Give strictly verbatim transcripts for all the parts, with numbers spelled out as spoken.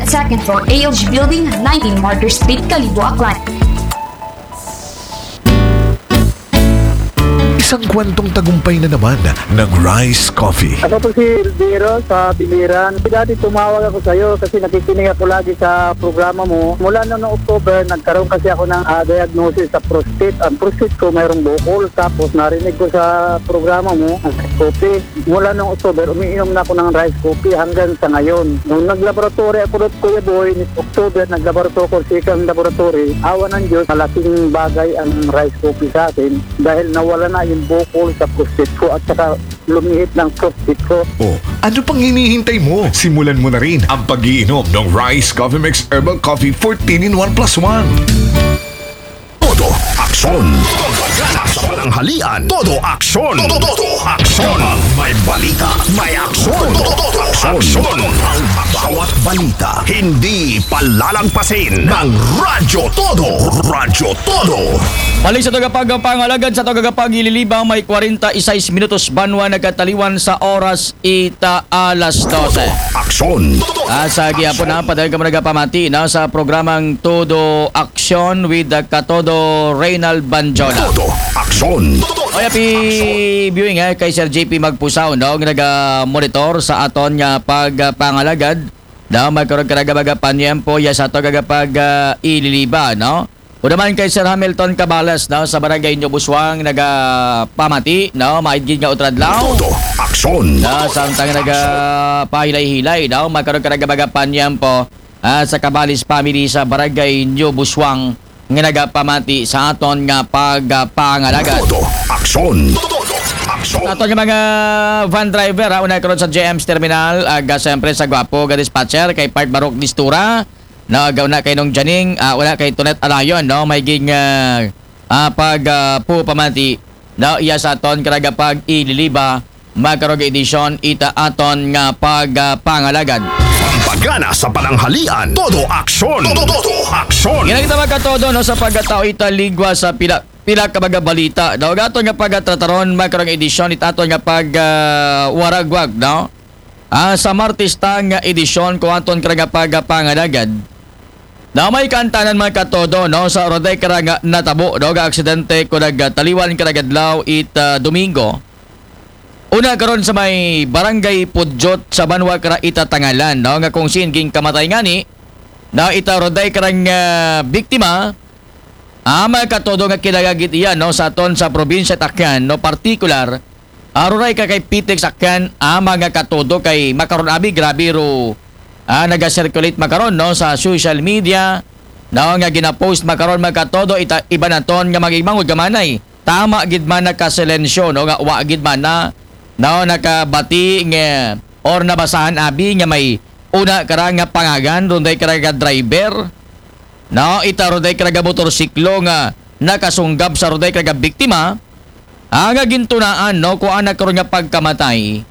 Second floor, A L G Building, nineteen Martyr Street, Kalibo, Aklan. Isang kwentong tagumpay na naman ng Rice Coffee. Ako po si Elviro sa Biliran. Dati tumawag ako sa iyo kasi nakikinig ako lagi sa programa mo. Mula noong October, nagkaroon kasi ako ng ah, diagnosis sa prostate. Ang prostate ko mayroong bukol. Tapos narinig ko sa programa mo, ang Rice Coffee. Mula noong October, umiinom na ako ng Rice Coffee hanggang sa ngayon. Nung naglaboratory ako doon, Kuya Boy, October, naglaboratory ako sa isang laboratory. Awa ng Diyos, malaking bagay ang Rice Coffee sa akin dahil nawala na yung bukol sa prostate ko at saka lumihit ng prostate ko. O, ano pang hinihintay mo? Simulan mo na rin ang pag-iinom ng Rice Coffee Mix Herbal Coffee fourteen in one plus one. Todo aksyon. Todo gana sa pananghalian. Todo aksyon. Todo, todo aksyon. May balita. May aksyon. Todo, todo aksyon. Ang bawat balita. Hindi palalagpasin ng Radyo Todo. Radyo Todo. Balik sa tagapagpangalagad sa tagapagililibang may kwarenta y seis minutos banwa nagkataliwan sa oras ita alas dose. Aksyon. Ah, sa gihapon na, padayon kamo nagapamati na sa programang Todo Aksyon with the Katodo Reynald Banjola. Todo aksyon. O, happy viewing eh, kay Sir J P Magpusaw, no, nga naga-monitor sa aton nga pagpangalagad. No, magkaroon ka nga mga panyempo, ya sa ato nga pag ah, ililiba, no? O naman kay Sir Hamilton Cabales, no, sa Barangay New Buswang, nagapamati, no, maidgid nga utradlaw. Todo aksyon. No, samtang nagapahilay-hilay, no, magkaroon ka nga mga panyempo ah, sa Cabalis family sa Barangay New Buswang nga nagapamati sa aton nga pagpangalagad. Todo aksyon. Todo aksyon. Aton nga mga van driver, ha, una karon sa J M's Terminal, aga siyempre sa Guapo, ga dispatcher, kay Part Barok Distura, no, aga una kay Nong Janing, ah, una kay Tonet Alayon, no, may ging ah, ah, pag ah, pupamati, no, iya sa aton karaga pag ililiba, magkarog edisyon ita aton nga pagpangalagad. Pampagana sa pananghalian. Todo aksyon. Todo, todo aksyon. Ginagita magkatodo, no, sa pagkatao ita ligwa sa pila pila ka mga balita, no, gaton nga pagtrataron magkarong edisyon ita aton nga pag ah, waragwag, no. Ah, sa Martes ta nga edisyon ko aton kara nga pagpangalagad. Na may kaantanan magkatodo, no, sa roday kara nga natabo, no, nga aksidente ko nagtaliwan kara nga adlaw it ah, Domingo. Una karon sa may Barangay Pudyot sa banwa kara ita Tangalan, no, nga kung sin ging kamatay ngani, na ita roday kara nga biktima, ah, magkatodo nga kinagagit iya, no, sa aton sa probinsya Takyan, no, partikular, ah, roday ka kay Pitex Akyan, ah, mga katodo kay makaron abi grabe ro, ah, naga-circulate makaron, no, sa social media, no, nga ginapost makaron magkatodo ita iba naton nga magigmangod gamanay. Tama gid man nakasilensyo, no, nga wa gid man na, no, nakabati nga or nabasahan abi nga may una kara nga pangagan, runday kara nga driver, no, ita runday kara nga motorsiklo nga nakasunggab sa runday kara nga biktima, ah, nga gintunaan, no, kuan na karon nga pagkamatay,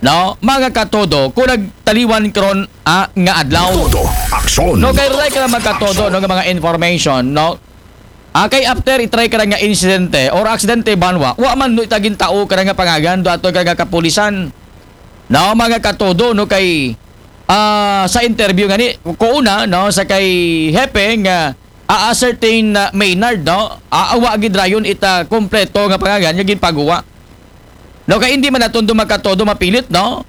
no, mga katodo, kung nagtaliwan karon ah, nga adlaw. Todo aksyon. No, kay runday kara magkatodo, no, nga mga information, no, Ah, kay after itry kara nga insidente or aksidente banwa, wa man no itagin tao kara nga pangagan do ato kara nga kapulisan. No, mga katodo, no, kay ah, sa interview ngani ko una, no, sa kay hepe nga a-ascertain na Maynard, no, ah, wa gid rayon ita kompleto nga pangagan nga ginpaguwa. No, kay hindi man naton do magkatodo mapilit, no.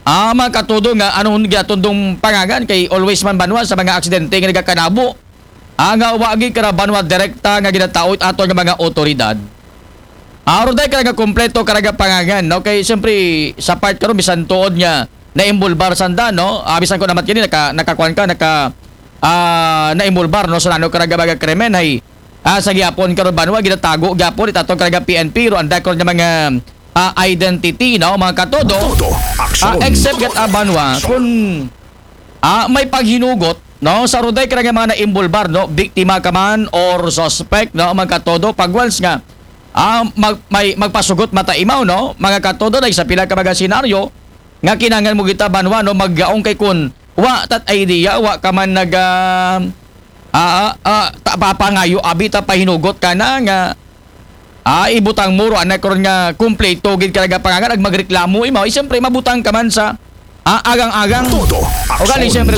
Ah, mga katodo nga anong gatondong pangagan kay always man banwa sa mga aksidente nga nagakanabo. Ah, nga wa gid kara banwa direkta nga ginataod ato nga mga otoridad. Aron day kara nga kompleto kara nga pangagan, no, kay siyempre sa part karon bisan tuod nga naimbulbar sanda, no, ah, bisan ko naman kini naka nakakuan ka naka ah, naimbulbar, no, sa nano kara nga mga krimen hay ah, sa gihapon karon banwa ginatago gihapon itato kara nga P N P ro anda karon nga mga ah, identity, no, mga katodo. Todo Ah, aksyon. except gat abanwa kun ah, may paghinugot, no, sa ruday kara nga mga naimbulbar, no, biktima ka man or suspect, no, mga katodo, pag once nga ah, mag, may magpasugot mata imaw, no, mga katodo, na sa pila ka mga senaryo nga kinangan mo kita banwa, no, maggaong kay kun wa tat idea, wa ka man nag ah, ah, ah, ta, papangayo abi ta pahinugot ka na nga ah, ibutang mo ro anak karon nga kumpleto gid ka nga pangagan ag magreklamo imaw, eh, siyempre mabutang ka man sa ah, agang-agang. Todo O gani aksyon. siyempre